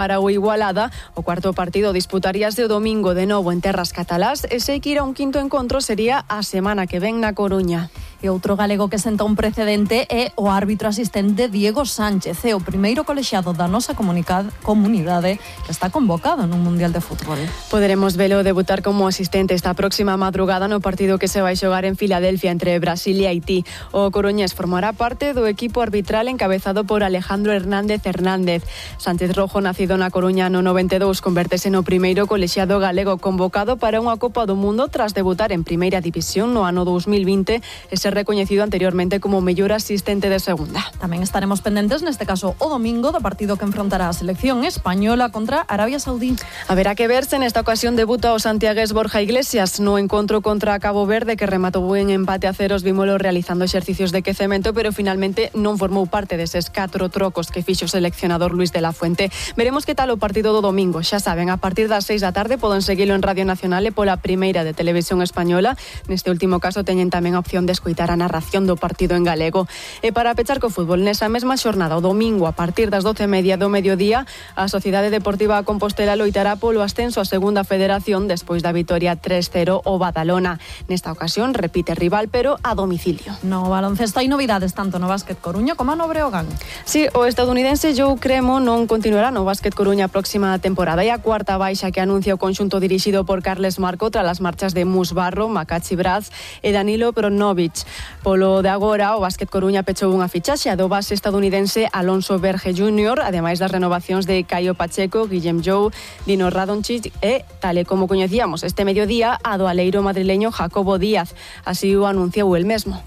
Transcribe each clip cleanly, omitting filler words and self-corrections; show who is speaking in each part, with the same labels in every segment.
Speaker 1: Para o Igualada, o cuarto partido disputaríase o domingo de novo en terras catalás e sei que ir a un quinto encontro sería a semana que ven na Coruña.
Speaker 2: E outro galego que senta un precedente é o árbitro asistente Diego Sánchez, é o primeiro colexiado da nosa comunidade que está convocado nun Mundial de Fútbol.
Speaker 1: Poderemos velo debutar como asistente esta próxima madrugada no partido que se vai xogar en Filadelfia entre Brasil e Haití. O coruñés formará parte do equipo arbitral encabezado por Alejandro Hernández. Sánchez Rojo, nacido na Coruña no 92, convertese no primeiro colexiado galego convocado para unha Copa do Mundo tras debutar en Primeira División no ano 2020 e ser recoñecido anteriormente como mellor asistente de segunda.
Speaker 2: Tamén estaremos pendentes, neste caso o domingo, do partido que enfrontará a selección española contra Arabia Saudí.
Speaker 1: Haberá que verse, nesta ocasión debuta o santiagués Borja Iglesias no encontro contra Cabo Verde, que rematou en empate a ceros. Vímolo realizando exercicios de quecemento, pero finalmente non formou parte deses 4 trocos que fixo o seleccionador Luis de la Fuente. Veremos que tal o partido do domingo. Xa saben, a partir das 6 da tarde poden seguilo en Radio Nacional e pola primeira de Televisión Española. Neste último caso teñen tamén a opción de escoitar a narración do partido en galego. E para pechar co fútbol, nesa mesma xornada, o domingo, a partir das 12:30 do mediodía, a Sociedade Deportiva Compostela loitará polo ascenso a Segunda Federación despois da vitoria 3-0 o Badalona. Nesta ocasión repite rival, pero a domicilio.
Speaker 2: No baloncesto hai novidades tanto no Básquet Coruña como no Breogán.
Speaker 1: Sí, o estadounidense Joe Cremo non continuará no Básquet Coruña a próxima temporada. E a cuarta baixa que anuncia o conxunto dirixido por Carles Marco tras as marchas de Mus Barro, Makachi Braz e Danilo Pronovic. Polo de agora, o Básquet Coruña pechou unha fichaxe do base estadounidense Alonso Verge Jr., ademais das renovacións de Caio Pacheco, Guillem Jou, Dino Radončić e, tal e como coñecíamos este mediodía, a do aleiro madrileño Jacobo Díaz. Así o anunciou el mesmo.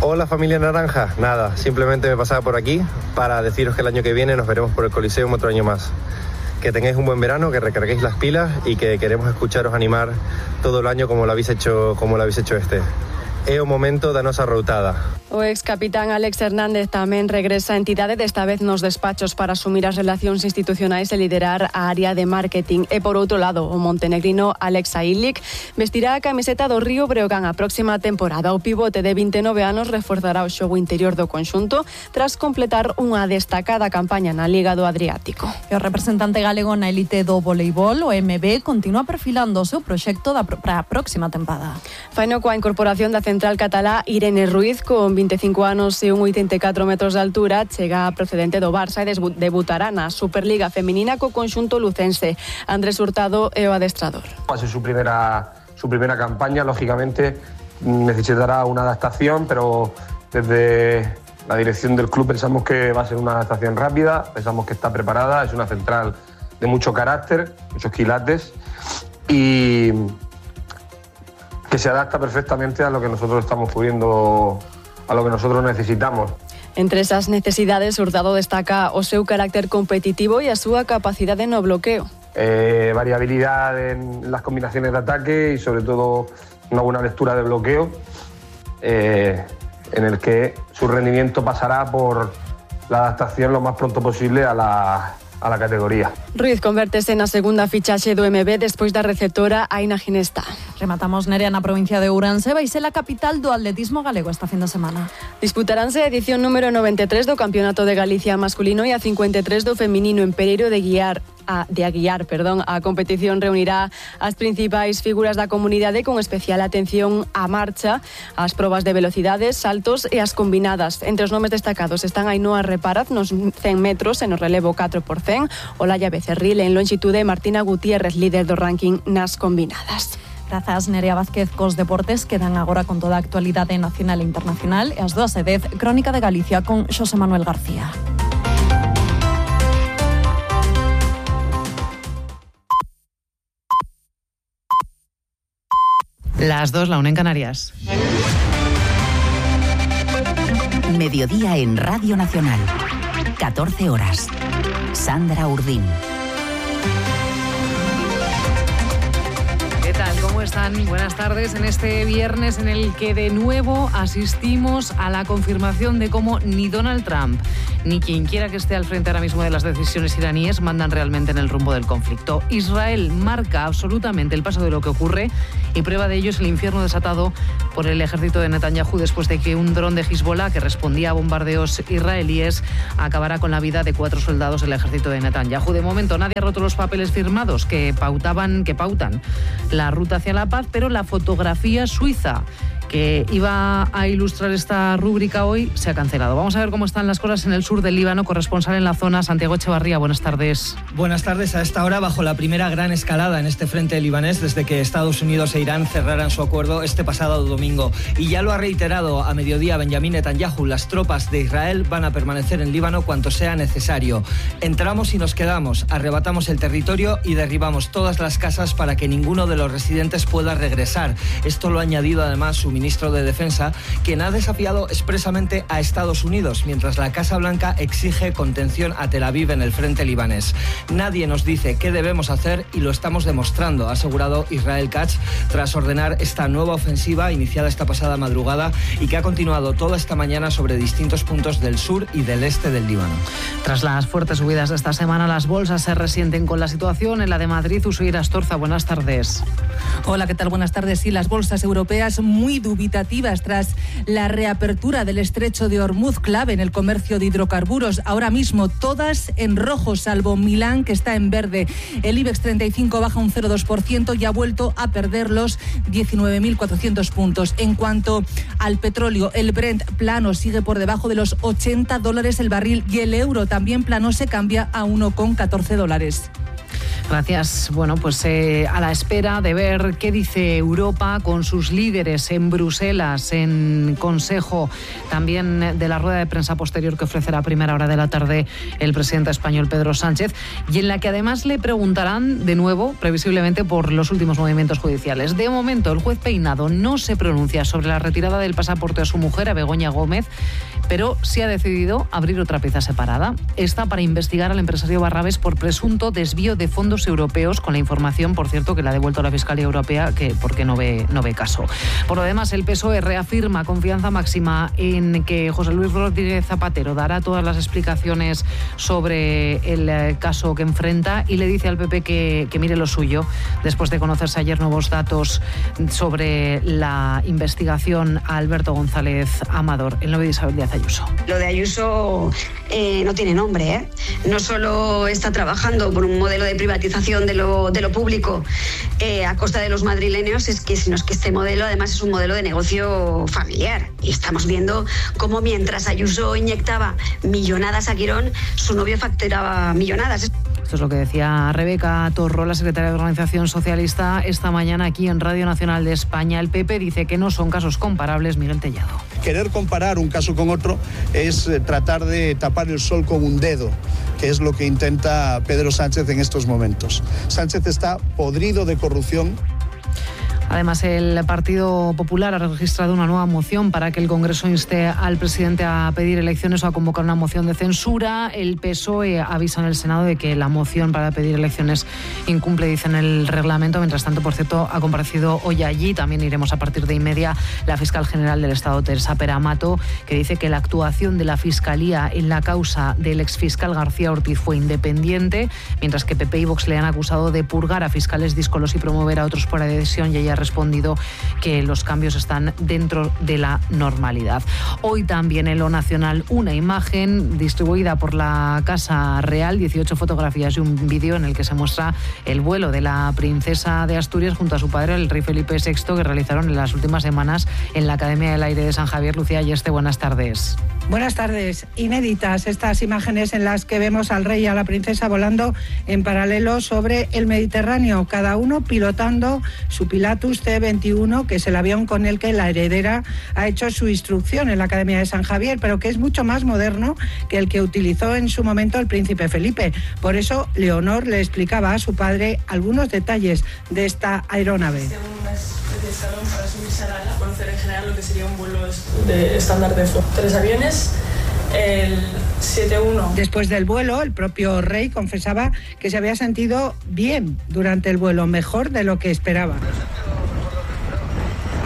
Speaker 3: Hola familia naranja, nada, simplemente me pasaba por aquí para deciros que el año que viene nos veremos por el Coliseum otro año más. Que tengáis un buen verano, que recarguéis las pilas y que queremos escucharos animar todo el año como lo habéis hecho este. É o momento da nosa routada.
Speaker 1: O ex capitán Alex Hernández tamén regresa a entidade, desta vez nos despachos para asumir as relacións institucionais e liderar a área de marketing. E por outro lado, o montenegrino Alex Ailic vestirá a camiseta do Río Breogán a próxima temporada. O pivote de 29 anos reforzará o xogo interior do conxunto tras completar unha destacada campaña na Liga do Adriático.
Speaker 2: E o representante galego na elite do voleibol, o MB, continúa perfilando o seu proxecto para a próxima tempada.
Speaker 1: Faino coa incorporación da central catalá Irene Ruiz, con 25 anos e 1,84 metros de altura, chega procedente do Barça e debutará na Superliga Feminina co conxunto lucense. Andrés Hurtado é o adestrador.
Speaker 4: Va a ser su primera campaña, lógicamente necesitará una adaptación, pero desde la dirección del club pensamos que va a ser una adaptación rápida, pensamos que está preparada, es una central de mucho carácter, muchos quilates y que se adapta perfectamente a lo que nosotros estamos pudiendo, a lo que nosotros necesitamos.
Speaker 1: Entre esas necesidades, Hurtado destaca o seu carácter competitivo e a súa capacidade no bloqueo.
Speaker 4: Variabilidad en las combinaciones de ataque y sobre todo una buena lectura de bloqueo, en el que su rendimiento pasará por la adaptación lo más pronto posible a la categoría.
Speaker 1: Ruiz convértese na segunda fichaxe do MB despois da receptora Aina Ginesta.
Speaker 2: Rematamos, Nerea, na provincia de Ourense. Vai ser a capital do atletismo galego esta fin de semana.
Speaker 1: Disputaránse a edición número 93 do Campeonato de Galicia masculino e a 53 do feminino en Pereiro de Aguiar. A competición reunirá as principais figuras da comunidade con especial atención á marcha, ás probas de velocidades, saltos e as combinadas. Entre os nomes destacados están Ainhoa Reparaz nos 100 metros e no relevo 4x100, Olaya Becerril en lonxitude e Martina Gutiérrez, líder do ranking nas combinadas.
Speaker 2: Grazas, Nerea Vázquez. Cos deportes quedan agora con toda a actualidade nacional e internacional e as 2:10, Crónica de Galicia con Xosé Manuel García.
Speaker 5: Las 2, la 1 en Canarias.
Speaker 6: Mediodía en Radio Nacional. 14 horas. Sandra Urdín.
Speaker 5: tal? ¿Cómo están? Buenas tardes en este viernes en el que de nuevo asistimos a la confirmación de cómo ni Donald Trump ni quien quiera que esté al frente ahora mismo de las decisiones iraníes mandan realmente en el rumbo del conflicto. Israel marca absolutamente el paso de lo que ocurre y prueba de ello es el infierno desatado por el ejército de Netanyahu después de que un dron de Hezbollah que respondía a bombardeos israelíes acabara con la vida de 4 soldados del ejército de Netanyahu. De momento nadie ha roto los papeles firmados que pautan la ruta hacia la paz, pero la fotografía suiza que iba a ilustrar esta rúbrica hoy se ha cancelado. Vamos a ver cómo están las cosas en el sur del Líbano. Corresponsal en la zona, Santiago Echevarría, buenas tardes.
Speaker 7: Buenas tardes. A esta hora, bajo la primera gran escalada en este frente libanés desde que Estados Unidos e Irán cerraran su acuerdo este pasado domingo. Y ya lo ha reiterado a mediodía Benjamín Netanyahu, las tropas de Israel van a permanecer en Líbano cuanto sea necesario. Entramos y nos quedamos, arrebatamos el territorio y derribamos todas las casas para que ninguno de los residentes pueda regresar. Esto lo ha añadido además su ministro de Defensa, quien ha desafiado expresamente a Estados Unidos, mientras la Casa Blanca exige contención a Tel Aviv en el frente libanés. Nadie nos dice qué debemos hacer y lo estamos demostrando, ha asegurado Israel Katz, tras ordenar esta nueva ofensiva iniciada esta pasada madrugada y que ha continuado toda esta mañana sobre distintos puntos del sur y del este del Líbano.
Speaker 5: Tras las fuertes subidas de esta semana, las bolsas se resienten con la situación. En la de Madrid, Usuira Astorza, buenas tardes.
Speaker 8: Hola, ¿qué tal? Buenas tardes. Sí, las bolsas europeas muy dubitativas tras la reapertura del estrecho de Hormuz, clave en el comercio de hidrocarburos. Ahora mismo todas en rojo, salvo Milán, que está en verde. El IBEX 35 baja un 0,2% y ha vuelto a perder los 19.400 puntos. En cuanto al petróleo, el Brent plano sigue por debajo de los $80 el barril y el euro también plano se cambia a $1,14.
Speaker 5: Gracias. Bueno, pues a la espera de ver qué dice Europa con sus líderes en Bruselas, en Consejo, también de la rueda de prensa posterior que ofrecerá a primera hora de la tarde el presidente español Pedro Sánchez, y en la que además le preguntarán de nuevo, previsiblemente, por los últimos movimientos judiciales. De momento, el juez Peinado no se pronuncia sobre la retirada del pasaporte a su mujer, a Begoña Gómez, pero sí ha decidido abrir otra pieza separada. Esta para investigar al empresario Barrabés por presunto desvío de fondos europeos, con la información, por cierto, que le ha devuelto la Fiscalía Europea, que porque no ve caso. Por lo demás, el PSOE reafirma confianza máxima en que José Luis Rodríguez Zapatero dará todas las explicaciones sobre el caso que enfrenta y le dice al PP que mire lo suyo, después de conocerse ayer nuevos datos sobre la investigación a Alberto González Amador, el novio de Isabel Díaz Ayuso.
Speaker 9: Lo de Ayuso no tiene nombre, ¿eh? No solo está trabajando por un modelo de privatización de lo público a costa de los madrileños, sino que este modelo además es un modelo de negocio familiar. Y estamos viendo cómo mientras Ayuso inyectaba millonadas a Quirón, su novio facturaba millonadas.
Speaker 5: Esto es lo que decía Rebeca Torró, la secretaria de Organización Socialista, esta mañana aquí en Radio Nacional de España. El PP dice que no son casos comparables. Miguel Tellado.
Speaker 10: Querer comparar un caso con otro es tratar de tapar el sol con un dedo, que es lo que intenta Pedro Sánchez en estos momentos. Sánchez está podrido de corrupción.
Speaker 5: Además, el Partido Popular ha registrado una nueva moción para que el Congreso inste al presidente a pedir elecciones o a convocar una moción de censura. El PSOE avisa en el Senado de que la moción para pedir elecciones incumple, dicen, el reglamento. Mientras tanto, por cierto, ha comparecido hoy allí, también iremos a partir de y media, la fiscal general del Estado, Teresa Peramato, que dice que la actuación de la Fiscalía en la causa del exfiscal García Ortiz fue independiente, mientras que PP y Vox le han acusado de purgar a fiscales díscolos y promover a otros por adhesión, y ella ha respondido que los cambios están dentro de la normalidad. Hoy también en lo nacional una imagen distribuida por la Casa Real, 18 fotografías y un vídeo en el que se muestra el vuelo de la princesa de Asturias junto a su padre, el rey Felipe VI, que realizaron en las últimas semanas en la Academia del Aire de San Javier. Lucía Ayeste, buenas tardes.
Speaker 11: Buenas tardes. Inéditas estas imágenes en las que vemos al rey y a la princesa volando en paralelo sobre el Mediterráneo, cada uno pilotando su Pilatus C-21, que es el avión con el que la heredera ha hecho su instrucción en la Academia de San Javier, pero que es mucho más moderno que el que utilizó en su momento el príncipe Felipe. Por eso, Leonor le explicaba a su padre algunos detalles de esta aeronave.
Speaker 12: Una especie de salón para subirse al ala, conocer en general lo que sería un vuelo de estándar de 3 aviones el 7-1.
Speaker 11: Después del vuelo, el propio rey confesaba que se había sentido bien durante el vuelo, mejor de lo que esperaba.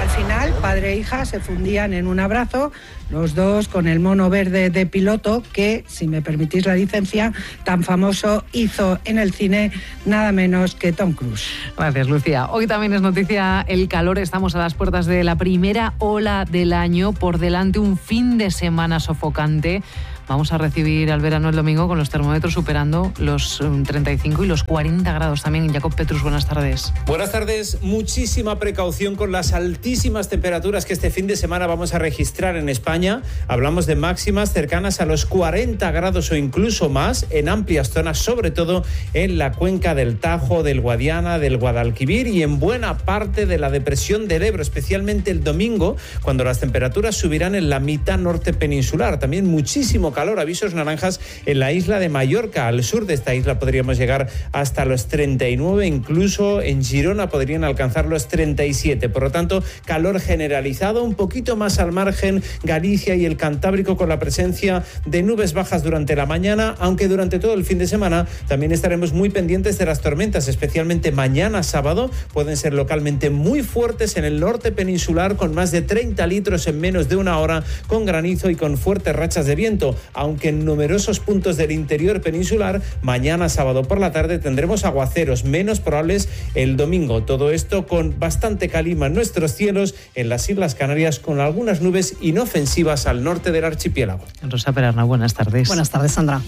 Speaker 11: Al final, padre e hija se fundían en un abrazo, los dos con el mono verde de piloto que, si me permitís la licencia, tan famoso hizo en el cine nada menos que Tom Cruise.
Speaker 5: Gracias, Lucía. Hoy también es noticia el calor. Estamos a las puertas de la primera ola del año. Por delante un fin de semana sofocante. Vamos a recibir al verano el domingo con los termómetros superando los 35 y los 40 grados también. Jacob Petrus, buenas tardes.
Speaker 13: Buenas tardes. Muchísima precaución con las altísimas temperaturas que este fin de semana vamos a registrar en España. Hablamos de máximas cercanas a los 40 grados o incluso más en amplias zonas, sobre todo en la cuenca del Tajo, del Guadiana, del Guadalquivir y en buena parte de la depresión del Ebro, especialmente el domingo, cuando las temperaturas subirán en la mitad norte peninsular. También muchísimo calor, avisos naranjas en la isla de Mallorca. Al sur de esta isla podríamos llegar hasta los 39, incluso en Girona podrían alcanzar los 37. Por lo tanto, calor generalizado, un poquito más al margen Galicia y el Cantábrico, con la presencia de nubes bajas durante la mañana, aunque durante todo el fin de semana también estaremos muy pendientes de las tormentas, especialmente mañana sábado. Pueden ser localmente muy fuertes en el norte peninsular, con más de 30 litros en menos de una hora, con granizo y con fuertes rachas de viento. Aunque en numerosos puntos del interior peninsular, mañana sábado por la tarde tendremos aguaceros menos probables el domingo. Todo esto con bastante calima en nuestros cielos, en las Islas Canarias, con algunas nubes inofensivas al norte del archipiélago.
Speaker 5: Rosa Perarna, buenas tardes.
Speaker 14: Buenas tardes, Sandra.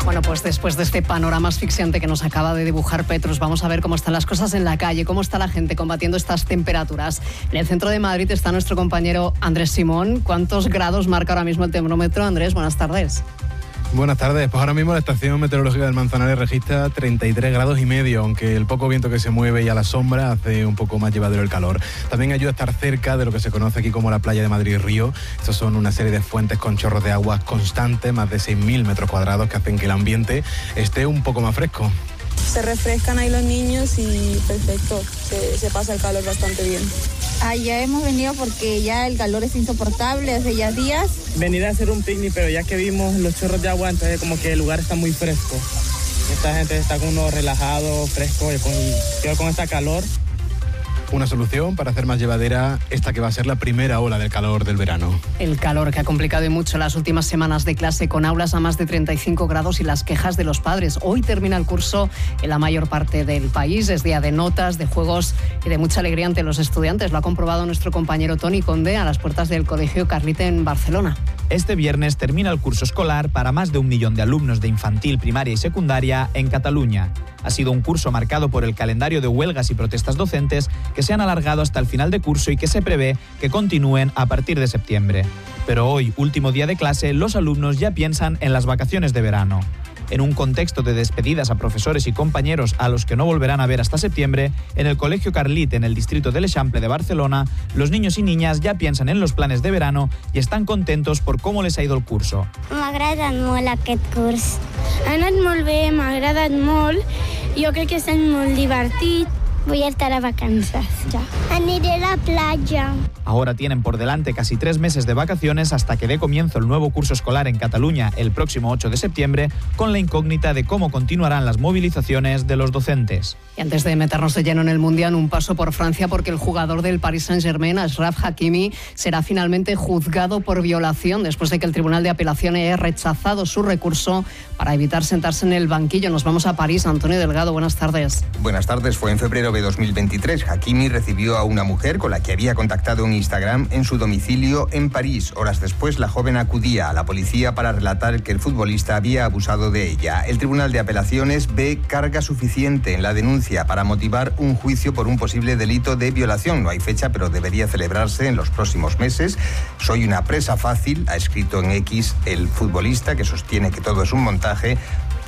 Speaker 14: Bueno, pues después de este panorama asfixiante que nos acaba de dibujar Petrus, vamos a ver cómo están las cosas en la calle, cómo está la gente combatiendo estas temperaturas. En el centro de Madrid está nuestro compañero Andrés Simón. ¿Cuántos grados marca ahora mismo el termómetro? Andrés, buenas tardes.
Speaker 15: Buenas tardes. Pues ahora mismo la estación meteorológica del Manzanares registra 33 grados y medio, aunque el poco viento que se mueve y a la sombra hace un poco más llevadero el calor. También ayuda a estar cerca de lo que se conoce aquí como la playa de Madrid-Río. Estos son una serie de fuentes con chorros de agua constantes, más de 6.000 metros cuadrados, que hacen que el ambiente esté un poco más fresco.
Speaker 16: Se refrescan ahí los niños y perfecto, se pasa el calor bastante bien.
Speaker 17: Ya hemos venido porque ya el calor es insoportable hace ya días.
Speaker 18: Venir a hacer un picnic, pero ya que vimos los chorros de agua, entonces como que el lugar está muy fresco. Esta gente está con uno relajado, fresco, y con esta calor.
Speaker 15: Una solución para hacer más llevadera esta que va a ser la primera ola del calor del verano.
Speaker 14: El calor que ha complicado y mucho las últimas semanas de clase, con aulas a más de 35 grados y las quejas de los padres. Hoy termina el curso en la mayor parte del país. Es día de notas, de juegos y de mucha alegría ante los estudiantes. Lo ha comprobado nuestro compañero Toni Conde a las puertas del Colegio Carlite en Barcelona.
Speaker 19: Este viernes termina el curso escolar para más de 1 millón de alumnos de infantil, primaria y secundaria en Cataluña. Ha sido un curso marcado por el calendario de huelgas y protestas docentes que se han alargado hasta el final de curso y que se prevé que continúen a partir de septiembre. Pero hoy, último día de clase, los alumnos ya piensan en las vacaciones de verano. En un contexto de despedidas a profesores y compañeros a los que no volverán a ver hasta septiembre, en el Colegio Carlit, en el distrito de l'Eixample de Barcelona, los niños y niñas ya piensan en los planes de verano y están contentos por cómo les ha ido el curso.
Speaker 20: M'ha agradat molt aquest curs. Ha anat molt bé, m'ha agradat molt. Jo crec que està molt divertit. Voy a estar a vacances ya. Aniré a la playa.
Speaker 19: Ahora tienen por delante casi 3 meses de vacaciones hasta que dé comienzo el nuevo curso escolar en Cataluña el próximo 8 de septiembre, con la incógnita de cómo continuarán las movilizaciones de los docentes.
Speaker 14: Y antes de meternos de lleno en el Mundial, un paso por Francia, porque el jugador del Paris Saint-Germain, Achraf Hakimi, será finalmente juzgado por violación después de que el Tribunal de Apelaciones haya rechazado su recurso para evitar sentarse en el banquillo. Nos vamos a París. Antonio Delgado, buenas tardes.
Speaker 21: Buenas tardes. Fue en febrero de 2023. Hakimi recibió a una mujer con la que había contactado en Instagram en su domicilio en París. Horas después, la joven acudía a la policía para relatar que el futbolista había abusado de ella. El Tribunal de Apelaciones ve carga suficiente en la denuncia para motivar un juicio por un posible delito de violación. No hay fecha, pero debería celebrarse en los próximos meses. Soy una presa fácil, ha escrito en X el futbolista, que sostiene que todo es un montaje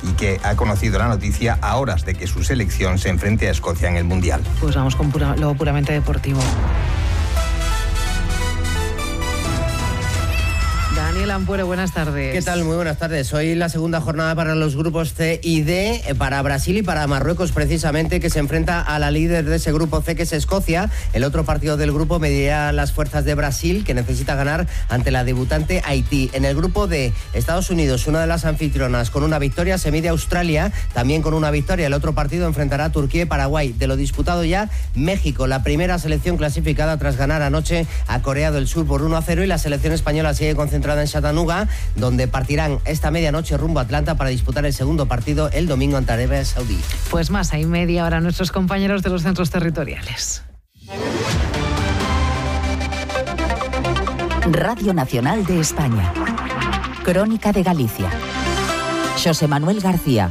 Speaker 21: y que ha conocido la noticia a horas de que su selección se enfrente a Escocia en el Mundial.
Speaker 5: Pues vamos con lo puramente deportivo. Dani Miguel Ampuero, buenas tardes.
Speaker 3: ¿Qué tal? Muy buenas tardes. Hoy la segunda jornada para los grupos C y D, para Brasil y para Marruecos precisamente, que se enfrenta a la líder de ese grupo C, que es Escocia. El otro partido del grupo medirá las fuerzas de Brasil, que necesita ganar ante la debutante Haití. En el grupo D, Estados Unidos, una de las anfitrionas, con una victoria, se mide a Australia, también con una victoria. El otro partido enfrentará a Turquía y Paraguay. De lo disputado ya, México, la primera selección clasificada tras ganar anoche a Corea del Sur por 1-0, y la selección española sigue concentrada en Chattanooga, donde partirán esta medianoche rumbo a Atlanta para disputar el segundo partido el domingo ante Arabia Saudí.
Speaker 5: Pues más, hay media hora nuestros compañeros de los centros territoriales.
Speaker 6: Radio Nacional de España. Crónica de Galicia. Xosé Manuel García.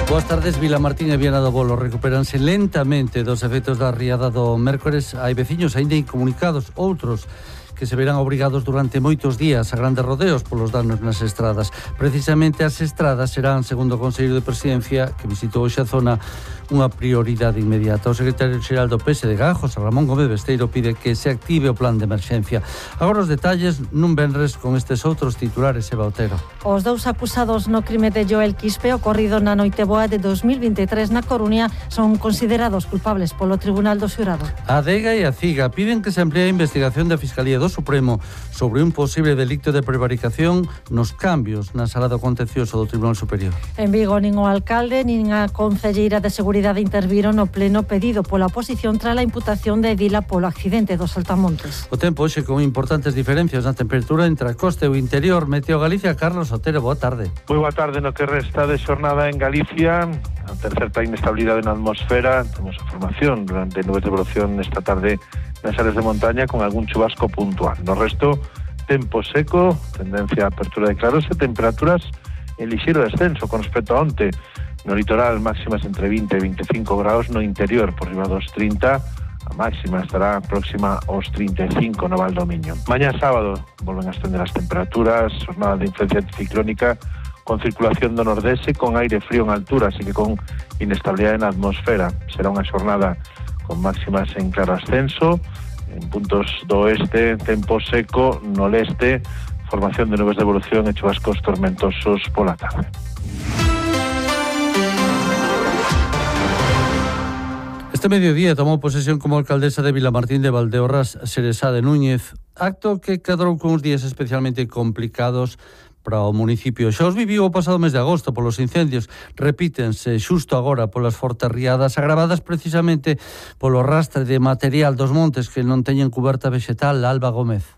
Speaker 22: Boas tardes. Vilamartín e Viana do Bolo recuperanse lentamente dos efectos da riada do mércores. Hai veciños aínda incomunicados, outros que se verán obrigados durante moitos días a grandes rodeos polos danos nas estradas. Precisamente as estradas serán, segundo o Consello de Presidencia, que visitou hoxe a zona, unha prioridade inmediata. O secretario xeral do PSDG, José Ramón Gómez Besteiro, pide que se active o plan de emerxencia. Agora os detalles nun venres con estes outros titulares, Eva Otero.
Speaker 23: Os dous acusados no crime de Joel Quispe ocorrido na Noiteboa de 2023 na Coruña son considerados culpables polo Tribunal do Xurado.
Speaker 22: A ADEGA e a CIGA piden que se amplíe a investigación da Fiscalía do Supremo sobre un posible delicto de prevaricación nos cambios na sala do contencioso do Tribunal Superior.
Speaker 23: En Vigo, nin o alcalde nin a concelleira de Seguridade interviron no pleno pedido pola oposición tras a imputación de Vila polo accidente dos Saltamontes.
Speaker 22: O tempo hoxe con importantes diferencias na temperatura entre a costa e o interior. Meteo Galicia, Carlos Otero, boa tarde.
Speaker 24: Moi boa tarde. No que resta de xornada en Galicia, a terceira inestabilidade na atmosfera, temos a formación durante nubes de evolución esta tarde nas áreas de montaña con algún chubasco puntual. No resto, tempo seco, tendencia a apertura de claros e temperaturas en lixeiro descenso con respecto a onte. No litoral, máximas entre 20 e 25 graus, no interior por riba dos 30, a máxima estará próxima aos 35 no Val do Miño. Mañá sábado volven a ascender as temperaturas, jornada de influencia anticiclónica con circulación do nordeste, con aire frío en altura, así que con inestabilidade na atmosfera. Será unha xornada con máximas en claro ascenso, en puntos do oeste, tempo seco, no leste, formación de nubes de evolución e chubascos tormentosos pola tarde.
Speaker 22: Este mediodía tomou posesión como alcaldesa de Vilamartín de Valdeorras Xeresa de Núñez, acto que cadrou con uns días especialmente complicados para o municipio. Xa os viviu o pasado mes de agosto polos incendios, repítense xusto agora polas fortes riadas agravadas precisamente polo rastre de material dos montes que non teñen cuberta vexetal. Alba Gómez.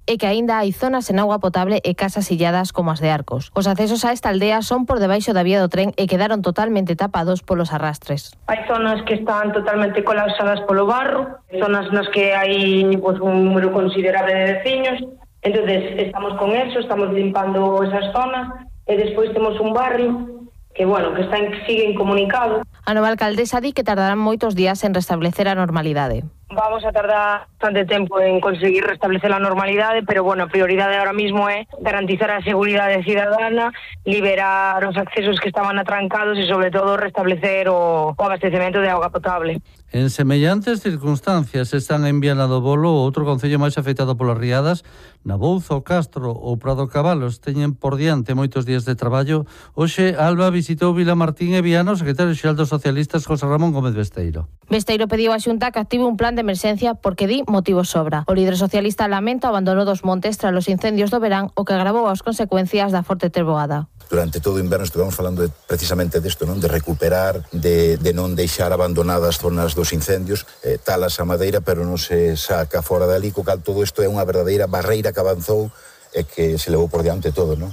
Speaker 25: E que aínda hai zonas sen agua potable e casas illadas como as de Arcos. Os accesos a esta aldea son por debaixo da vía do tren e quedaron totalmente tapados polos arrastres.
Speaker 26: Hai zonas que están totalmente colapsadas polo barro, zonas nas que hai un número considerable de veciños. Entonces estamos con eso, estamos limpando esas zonas e despois temos un barrio que, bueno, que sigue incomunicado.
Speaker 25: A nova alcaldesa di que tardarán moitos días en restablecer a normalidade.
Speaker 26: Vamos a tardar bastante tempo en conseguir restablecer a normalidade, pero, bueno, a prioridade ahora mismo é garantizar a seguridade cidadana, liberar os accesos que estaban atrancados e, sobre todo, restablecer o abastecemento de auga potable.
Speaker 22: En semellantes circunstancias están en Viana do Bolo, outro concello máis afectado polas riadas. Nabouzo, Castro ou Prado Cabalos teñen por diante moitos días de traballo. Hoxe, Alba visitou Vilamartín e Viana o secretario xeral dos socialistas, José Ramón Gómez Besteiro.
Speaker 25: Besteiro pediu á Xunta que active un plan de emerxencia porque di motivos sobra. O líder socialista lamenta o abandono dos montes tras os incendios do verán, o que agravou as consecuencias da forte treboada.
Speaker 27: Durante todo o inverno estivemos falando precisamente desto, non? De recuperar, de non deixar abandonadas zonas dos incendios, talas a madeira, pero non se saca fora dali, co cal todo isto é unha verdadeira barreira que avanzou e que se levou por diante todo, non?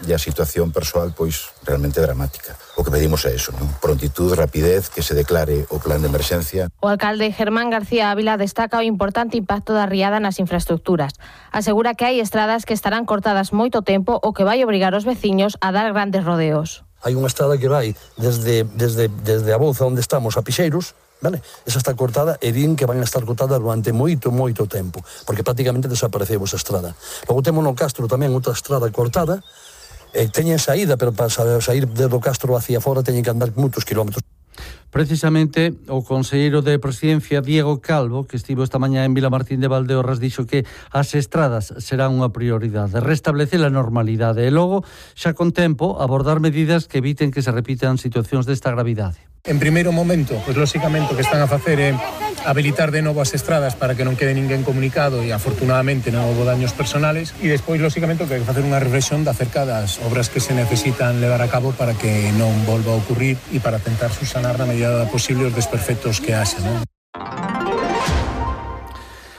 Speaker 27: E a situación persoal, pois, realmente dramática. O que pedimos é eso, non? Prontitud, rapidez, que se declare o plan de emerxencia.
Speaker 25: O alcalde Germán García Ávila destaca o importante impacto da riada nas infraestructuras. Asegura que hai estradas que estarán cortadas moito tempo o que vai obrigar os veciños a dar grandes rodeos.
Speaker 28: Hai unha estrada que vai desde a Bouza, onde estamos, a Pixeiros, vale? Esa está cortada e din que van a estar cortada durante moito tempo, porque prácticamente desapareceu esa estrada. Logo temos no Castro tamén outra estrada cortada, teñen saída, pero para sair do Castro hacia fora teñen que andar moitos kilómetros.
Speaker 22: Precisamente o conselleiro de Presidencia, Diego Calvo, que estivo esta mañá en Vilamartín de Valdeorras, dixo que as estradas serán unha prioridade, restablecer a normalidade e logo, xa con tempo, abordar medidas que eviten que se repitan situacións desta gravidade.
Speaker 1: En primeiro momento, pois lóxicamente o que están a facer é habilitar de novo as estradas para que non quede ninguén comunicado e afortunadamente non houve daños personales e despois lóxicamente o que hai que facer unha reflexión acerca das obras que se necesitan levar a cabo para que non volva a ocurrir e para tentar subsanar na medida posible os desperfectos que haxa, non?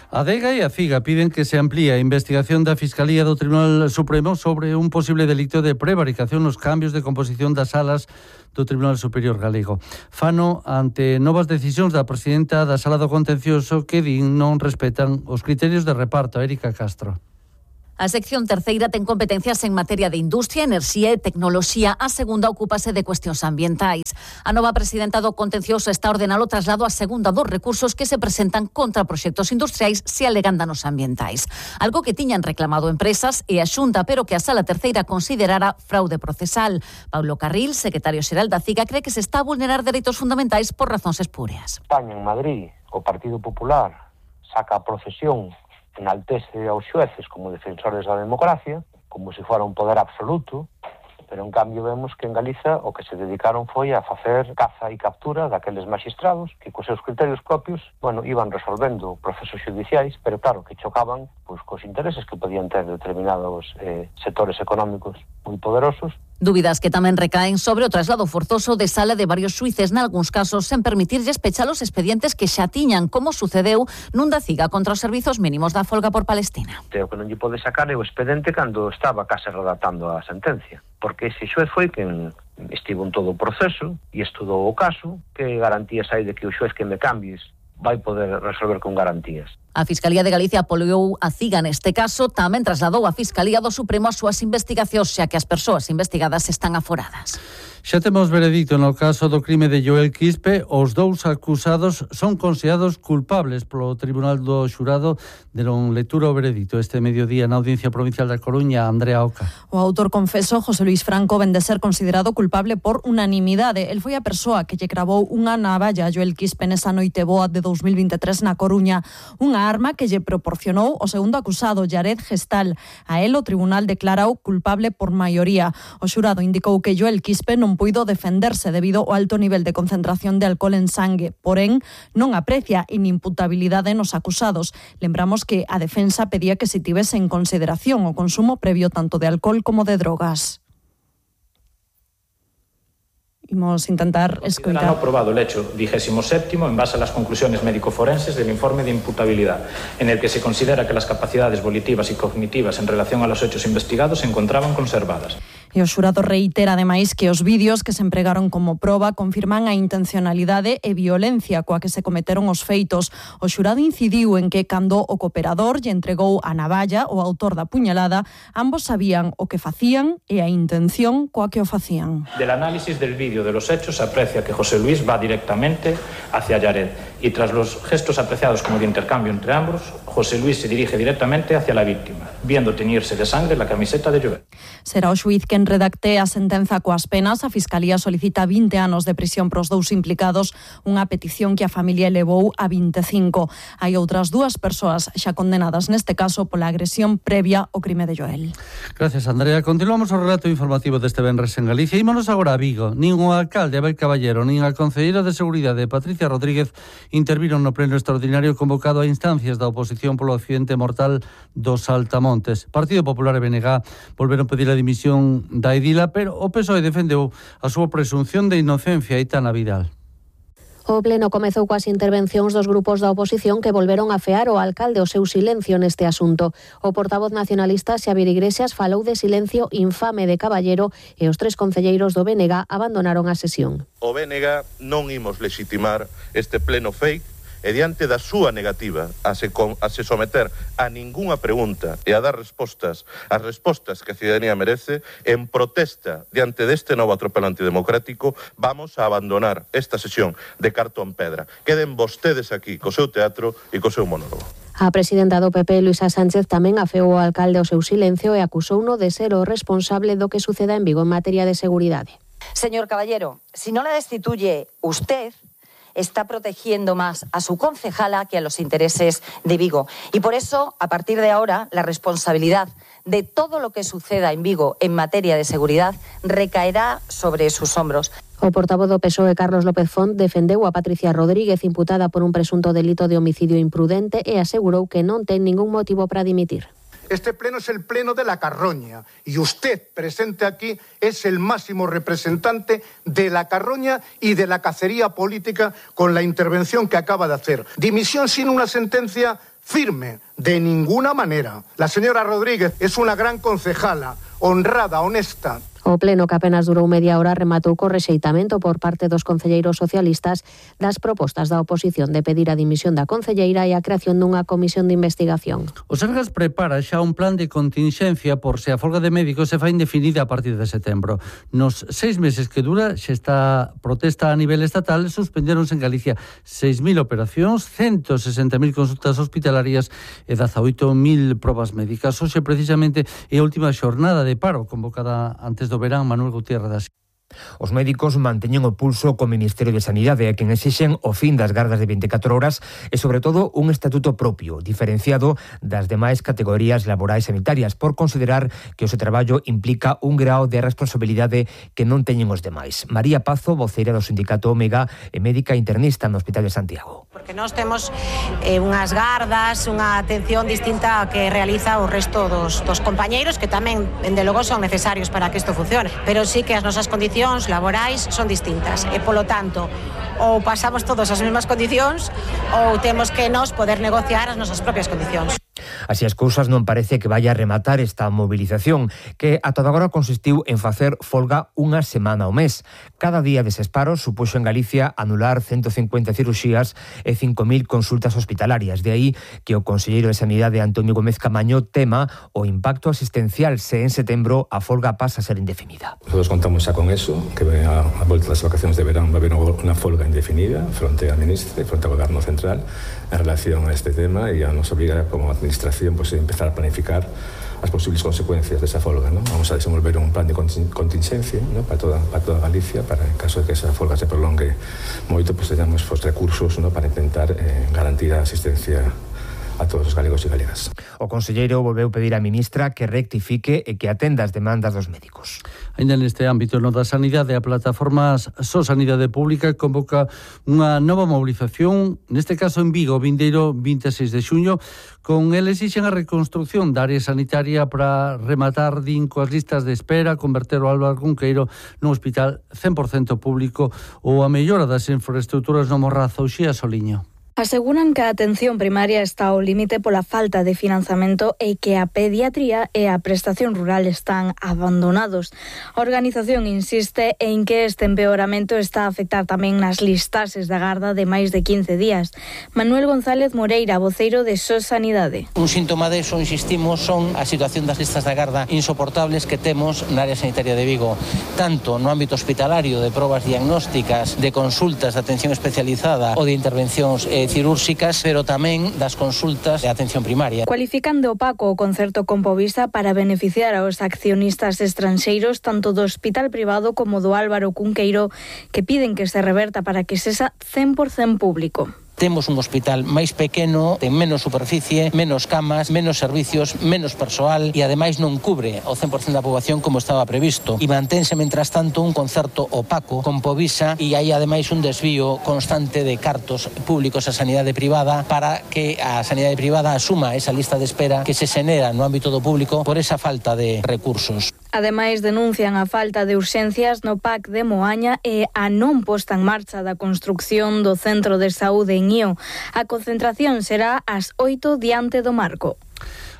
Speaker 22: A DEGA e a CIGA piden que se amplíe a investigación da Fiscalía do Tribunal Supremo sobre un posible delito de prevaricación nos cambios de composición das salas do Tribunal Superior Galego. Fano ante novas decisións da presidenta da Sala do Contencioso que din non respetan os criterios de reparto. Érica Castro.
Speaker 2: A sección terceira ten competencias en materia de industria, enerxía e tecnoloxía. A segunda ocúpase de cuestións ambientais. A nova presidenta do Contencioso está ordenado o traslado a segunda dos recursos que se presentan contra proxectos industriais se alegan danos ambientais. Algo que tiñan reclamado empresas e a Xunta, pero que a Sala Terceira considerara fraude procesal. Paulo Carril, secretario xeral da CIGA, cree que se está a vulnerar dereitos fundamentais por razóns espúreas.
Speaker 4: España, en Madrid, o Partido Popular saca a procesión, enaltece aos xueces como defensores da democracia, como se fora un poder absoluto, pero en cambio vemos que en Galiza o que se dedicaron foi a facer caza e captura daqueles magistrados que cos seus criterios propios, iban resolvendo procesos judiciais, pero claro, que chocaban cos intereses que podían ter determinados sectores económicos moi poderosos.
Speaker 2: Dúbidas que tamén recaen sobre o traslado forzoso de sala de varios xuíces, nalgúns casos sen permitirlles pechar os expedientes que xa tiñan, como sucedeu nun da CIGA contra os servizos mínimos da folga por Palestina.
Speaker 4: O que non lle pode sacar é o expediente cando estaba case redactando a sentencia, porque ese xuez foi quen estivo en todo o proceso e estudou o caso. Que garantías hai de que o xuez que me cambies vai poder resolver con garantías?
Speaker 2: A Fiscalía de Galicia apoiou a CIGA neste caso, tamén trasladou a Fiscalía do Supremo as súas investigacións, xa que as persoas investigadas están aforadas.
Speaker 22: Xa temos veredicto no caso do crime de Joel Quispe. Os dous acusados son considerados culpables polo Tribunal do Xurado. Deron lectura ao veredicto este mediodía na Audiencia Provincial da Coruña. Andrea Oca.
Speaker 7: O autor confeso, José Luis Franco, ven de ser considerado culpable por unanimidade. El foi a persoa que lle cravou unha navalla a Joel Quispe nesa noite boa de 2023 na Coruña. Unha arma que lle proporcionou o segundo acusado, Jared Gestal. A él o tribunal declarou culpable por maioría. O xurado indicou que Joel Quispe non puido defenderse debido ao alto nivel de concentración de alcohol en sangue. Porén, non aprecia inimputabilidade nos acusados. Lembramos que a defensa pedía que se tivese en consideración o consumo previo tanto de alcohol como de drogas. Imos intentar escoitar.
Speaker 8: Han aprobado el hecho 27º en base a las conclusiones médico-forenses del informe de imputabilidad, en el que se considera que las capacidades volitivas y cognitivas en relación a los hechos investigados se encontraban conservadas.
Speaker 7: E o xurado reitera, ademais, que os vídeos que se empregaron como proba confirman a intencionalidade e violencia coa que se cometeron os feitos. O xurado incidiu en que, cando o cooperador lle entregou a navalla, o autor da puñalada, ambos sabían o que facían e a intención coa que o facían.
Speaker 8: Del análisis del vídeo de los hechos se aprecia que José Luis va directamente hacia Jared y tras los gestos apreciados como de intercambio entre ambos, José Luis se dirige directamente hacia la víctima, viendo teñirse de sangre la camiseta de Joel.
Speaker 7: Será o xuíz quen redacte a sentenza coas penas. A Fiscalía solicita 20 anos de prisión pros dous implicados, unha petición que a familia elevou a 25. Hai outras dúas persoas xa condenadas neste caso pola agresión previa ao crime de Joel.
Speaker 22: Gracias, Andrea. Continuamos o relato informativo deste venres en Galicia. Ímonos agora a Vigo. Nin o alcalde Abel Caballero, nin a concelleira de Seguridade Patricia Rodríguez interviron no pleno extraordinario convocado a instancias da oposición polo accidente mortal dos Saltamontes. Partido Popular e BNG volveron pedir a dimisión da edila, pero o PSOE defendeu a súa presunción de inocencia. Aitana Vidal.
Speaker 25: O pleno comezou coas intervencións dos grupos da oposición que volveron a fear ao alcalde o seu silencio neste asunto. O portavoz nacionalista Xavier Iglesias falou de silencio infame de Caballero e os tres concelleiros do BNG abandonaron a sesión.
Speaker 9: O BNG non imos legitimar este pleno fake e diante da súa negativa a se someter a ningunha pregunta e a dar respostas, as respostas que a ciudadanía merece, en protesta diante deste novo atropelo antidemocrático, vamos a abandonar esta sesión de cartón pedra. Queden vostedes aquí co seu teatro e co seu monólogo.
Speaker 25: A presidenta do PP, Luisa Sánchez, tamén afeou ao alcalde o seu silencio e acusouno de ser o responsable do que suceda en Vigo en materia de seguridade.
Speaker 10: Señor Caballero, si no la destituye usted, está protegiendo más a su concejala que a los intereses de Vigo. Y por eso, a partir de ahora, la responsabilidad de todo lo que suceda en Vigo en materia de seguridad recaerá sobre sus hombros.
Speaker 25: O portavoz do PSOE, Carlos López Font, defendeu a Patricia Rodríguez, imputada por un presunto delito de homicidio imprudente, e asegurou que non ten ningún motivo para dimitir.
Speaker 11: Este pleno es el pleno de la carroña y usted, presente aquí, es el máximo representante de la carroña y de la cacería política con la intervención que acaba de hacer. Dimisión sin una sentencia firme, de ninguna manera. La señora Rodríguez es una gran concejala, honrada, honesta.
Speaker 25: O pleno, que apenas durou media hora, rematou co rexeitamento por parte dos concelleiros socialistas das propostas da oposición de pedir a dimisión da concelleira e a creación dunha comisión de investigación.
Speaker 22: O Sergas prepara xa un plan de continxencia por se a folga de médicos se fai indefinida a partir de setembro. Nos 6 meses que dura, xa está protesta a nivel estatal, suspendéronse en Galicia 6.000 operacións, 160.000 consultas hospitalarias e 18.000 probas médicas. Hoxe, precisamente, é a última xornada de paro convocada antes do verán. Manuel Gutiérrez das...
Speaker 12: Os médicos manteñen o pulso co Ministerio de Sanidade a quen exixen o fin das gardas de 24 horas e, sobre todo, un estatuto propio, diferenciado das demais categorías laborais sanitarias, por considerar que o seu traballo implica un grao de responsabilidade que non teñen os demais. María Pazo, voceira do sindicato Omega e médica internista no Hospital de Santiago.
Speaker 13: Porque nós temos unhas gardas, unha atención distinta a que realiza o resto dos compañeiros, que tamén, dende logo, son necesarios para que isto funcione, pero sí que as nosas condicións laborais son distintas e, polo tanto, ou pasamos todos as mesmas condicións ou temos que nos poder negociar as nosas propias condicións.
Speaker 12: Así as cousas non parece que vaya a rematar esta movilización, que ata agora consistiu en facer folga unha semana ao mes. Cada día deses paros supuxo en Galicia anular 150 cirurxías e 5.000 consultas hospitalarias. De aí que o conselleiro de Sanidade, Antonio Gómez Camaño, tema o impacto asistencial se en setembro a folga pasa a ser indefinida.
Speaker 15: Nosotros contamos xa con eso, que a volta das vacacións de verán va a haber unha folga indefinida fronte á ministra e fronte ao goberno central en relación a este tema, e a nos obliga como administración pues, a empezar a planificar as posibles consecuencias desa folga, ¿no? Vamos a desenvolver un plan de contingencia, ¿no? para toda Galicia, para en caso de que esa folga se prolongue moito, pues teñamos recursos, ¿no? para intentar garantir a asistencia a todos os galegos e galegas.
Speaker 12: O conselleiro volveu pedir á ministra que rectifique e que atenda as demandas dos médicos.
Speaker 22: Ainda neste ámbito, no da sanidade, a plataforma So Sanidade Pública convoca unha nova mobilización, neste caso en Vigo, vindeiro 26 de xuño. Con el exixen a reconstrucción da área sanitaria para rematar, din, coas listas de espera, converter o Álvaro Cunqueiro nun hospital 100% público ou a mellora das infraestructuras no Morrazo. Uxía Soliño.
Speaker 16: Aseguran que a atención primaria está ao límite pola falta de financiamento e que a pediatría e a prestación rural están abandonados. A organización insiste en que este empeoramento está a afectar tamén nas listaxes da garda de máis de 15 días. Manuel González Moreira, voceiro de So Sanidade.
Speaker 17: Un síntoma deso, insistimos, son a situación das listas da garda insoportables que temos na área sanitaria de Vigo, tanto no ámbito hospitalario de probas diagnósticas, de consultas de atención especializada ou de intervencións cirúrxicas, pero tamén das consultas de atención primaria.
Speaker 16: Cualifican de opaco o concerto con Povisa para beneficiar aos accionistas estranxeiros tanto do hospital privado como do Álvaro Cunqueiro, que piden que se reverta para que sexa 100% público.
Speaker 17: Temos un hospital máis pequeno, ten menos superficie, menos camas, menos servicios, menos persoal e ademais non cubre o 100% da poboación como estaba previsto. E mantense, mentras tanto, un concerto opaco con Povisa e hai ademais un desvío constante de cartos públicos á sanidade privada para que a sanidade privada asuma esa lista de espera que se xenera no ámbito do público por esa falta de recursos.
Speaker 16: Ademais, denuncian a falta de urxencias no PAC de Moaña e a non posta en marcha da construcción do Centro de Saúde en Ío. A concentración será ás 8 diante do Marco.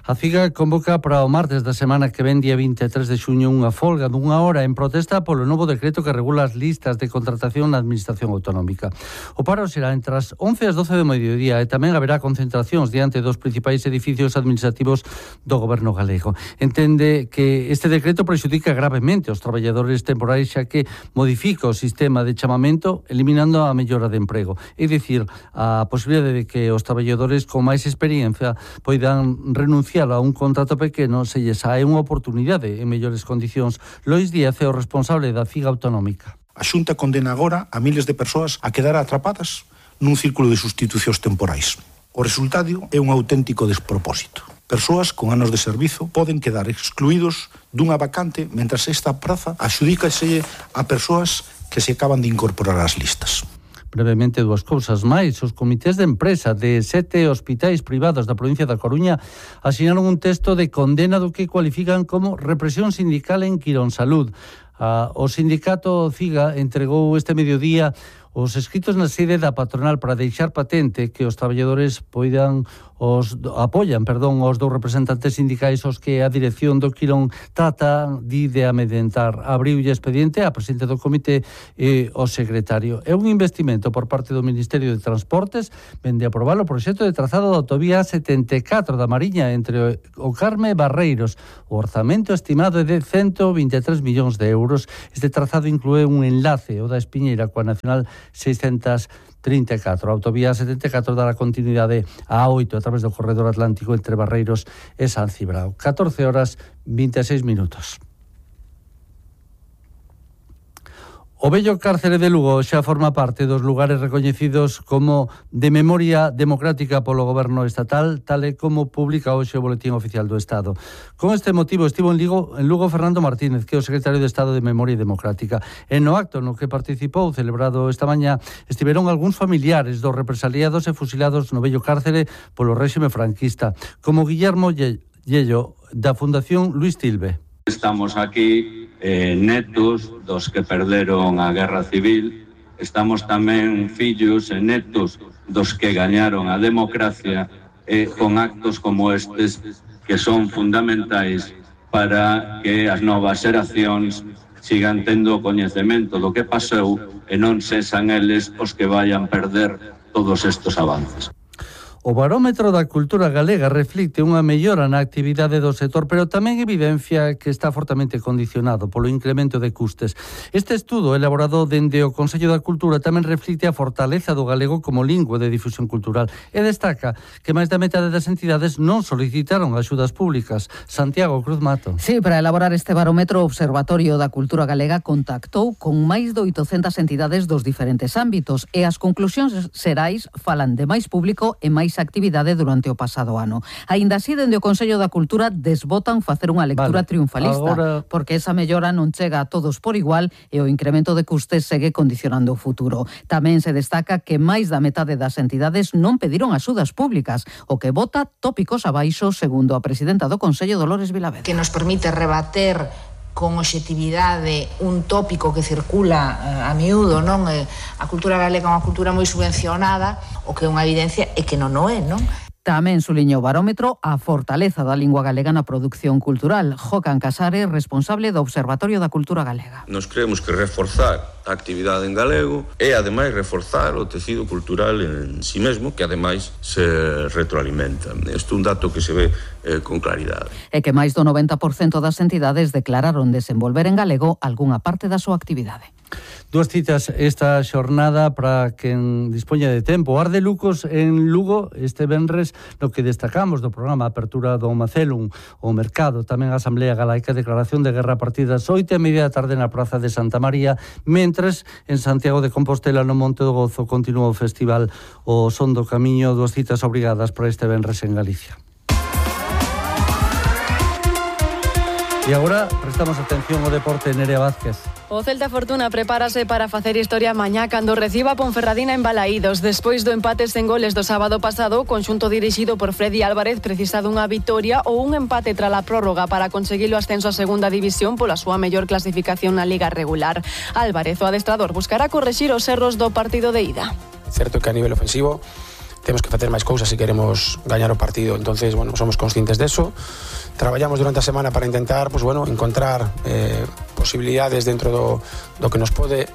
Speaker 22: A CIGA convoca para o martes da semana que ven, día 23 de xuño, unha folga dunha hora en protesta polo novo decreto que regula as listas de contratación na Administración Autonómica. O paro será entre as 11 e as 12 do mediodía e tamén haberá concentracións diante dos principais edificios administrativos do Goberno galego. Entende que este decreto prexudica gravemente os traballadores temporais, xa que modifica o sistema de chamamento eliminando a mellora de emprego. É dicir, a posibilidade de que os traballadores con máis experiencia poidan renunciar renunciar a un contrato pequeno se lle sae unha oportunidade en mellores condicións. Lois Díaz é o responsable da FIGA autonómica.
Speaker 3: A Xunta condena agora a miles de persoas a quedar atrapadas nun círculo de sustitucións temporais. O resultado é un auténtico despropósito. Persoas con anos de servizo poden quedar excluídos dunha vacante mentras esta praza adxudícase a persoas que se acaban de incorporar ás listas.
Speaker 22: Brevemente, dúas cousas máis. Os comités de empresa de 7 hospitais privados da provincia da Coruña asinaron un texto de condena do que cualifican como represión sindical en Quirónsalud. O sindicato CIGA entregou este mediodía os escritos na sede da patronal para deixar patente que os traballadores apoian os dous representantes sindicais os que a dirección do Quirón trata de amedrentar. Abriulle expediente a presidente do comité e o secretario. É un investimento por parte do Ministerio de Transportes, vende aprobar o proxecto de trazado da autovía 74 da Mariña entre o Carme e Barreiros. O orzamento estimado é de 123 millóns de euros. Este trazado inclúe un enlace, o da Espiñeira, coa Nacional 634. A autovía 74 dará continuidade a A8 a través do corredor atlántico entre Barreiros e San Cibrao. 14:26. O vello cárcere de Lugo xa forma parte dos lugares recoñecidos como de memoria democrática polo goberno estatal, tal e como publica hoxe o Boletín Oficial do Estado. Con este motivo estivo en Lugo Fernando Martínez, que é o secretario de Estado de Memoria Democrática. E no acto no que participou, celebrado esta mañá, estiveron algúns familiares dos represaliados e fusilados no vello cárcere polo réxime franquista, como Guillermo Yello, da Fundación Luis Tilbe.
Speaker 5: Estamos aquí netos dos que perderon a Guerra Civil, estamos tamén fillos e netos dos que gañaron a democracia con actos como estes que son fundamentais para que as novas xeracións sigan tendo coñecemento do que pasou e non sexan eles os que vayan perder todos estes avances.
Speaker 22: O barómetro da cultura galega reflicte unha mellora na actividade do sector, pero tamén evidencia que está fortemente condicionado polo incremento de custes. Este estudo, elaborado dende o Consello da Cultura, tamén reflicte a fortaleza do galego como lingua de difusión cultural e destaca que máis da metade das entidades non solicitaron axudas públicas. Santiago Cruz Mato.
Speaker 6: Sí, para elaborar este barómetro, o Observatorio da Cultura Galega contactou con máis de 800 entidades dos diferentes ámbitos e as conclusións xerais falan de máis público e máis actividade durante o pasado ano. Aínda así, dende o Consello da Cultura desbotan facer unha lectura triunfalista, porque esa mellora non chega a todos por igual e o incremento de custes segue condicionando o futuro. Tamén se destaca que máis da metade das entidades non pediron axudas públicas, o que bota tópicos abaixo, segundo a presidenta do Consello, Dolores Vilavedo.
Speaker 14: Que nos permite rebater con obxectividade un tópico que circula a miúdo, non? A cultura galega é unha cultura moi subvencionada, o que é unha evidencia é que non o é, non?
Speaker 6: Tamén suliñou o barómetro a fortaleza da lingua galega na produción cultural. Jocan Casares, responsable do Observatorio da Cultura Galega.
Speaker 18: Nos creemos que reforzar a actividade en galego e, ademais, reforzar o tecido cultural en si mesmo, que, ademais, se retroalimenta. Isto é un dato que se ve con claridade.
Speaker 6: E que máis do 90% das entidades declararon desenvolver en galego algunha parte da súa actividade.
Speaker 22: Dúas citas esta xornada para quen dispoña de tempo. Arde Lucos en Lugo este venres, no que destacamos do programa Apertura do Macelum, o mercado, tamén a Asamblea Galaica, declaración de guerra a partir das 8:30 da tarde na Praza de Santa María, mentres en Santiago de Compostela, no Monte do Gozo, continúa o festival O Son do Camiño. Dúas citas obrigadas para este venres en Galicia. E agora prestamos atención ao deporte. Nerea Vázquez.
Speaker 19: O Celta Fortuna prepárase para facer historia mañá cando reciba a Ponferradina en Balaídos. Despois do empate sen goles do sábado pasado, o conxunto dirixido por Freddy Álvarez precisa dunha vitoria ou un empate tras a prórroga para conseguir o ascenso a segunda división pola súa mellor clasificación na liga regular. Álvarez, o adestrador, buscará correxir os erros do partido de ida.
Speaker 20: É certo que a nivel ofensivo temos que facer máis cousas se queremos gañar o partido. Entonces, bueno, somos conscientes deso. Traballamos durante a semana para intentar, pues bueno, encontrar posibilidades dentro do que nos pode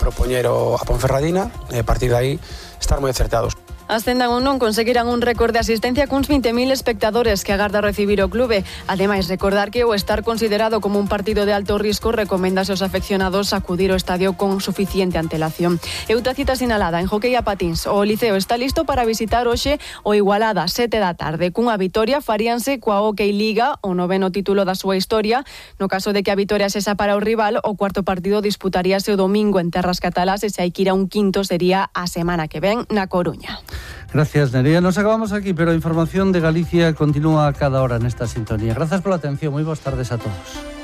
Speaker 20: propoñer a Ponferradina e a partir de aí estar moi acertados.
Speaker 19: Ascendan ou non, conseguirán un récord de asistencia cuns 20.000 espectadores que agarda recibir o clube. Ademais, recordar que o estar considerado como un partido de alto risco recomendase aos afeccionados acudir ao estadio con suficiente antelación. E outra cita sinalada en hockey a patins. O Liceo está listo para visitar hoxe o Igualada 7 da tarde. Cunha vitoria faríanse coa Hockey Liga, o 9º título da súa historia. No caso de que a vitoria sexa para o rival, o cuarto partido disputaríase o domingo en terras catalás e se hai que ir a un quinto sería a semana que ven na Coruña.
Speaker 22: Gracias, Nerea. Nos acabamos aquí, pero a información de Galicia continúa a cada hora nesta sintonía. Gracias pola atención. Moi boas tardes a todos.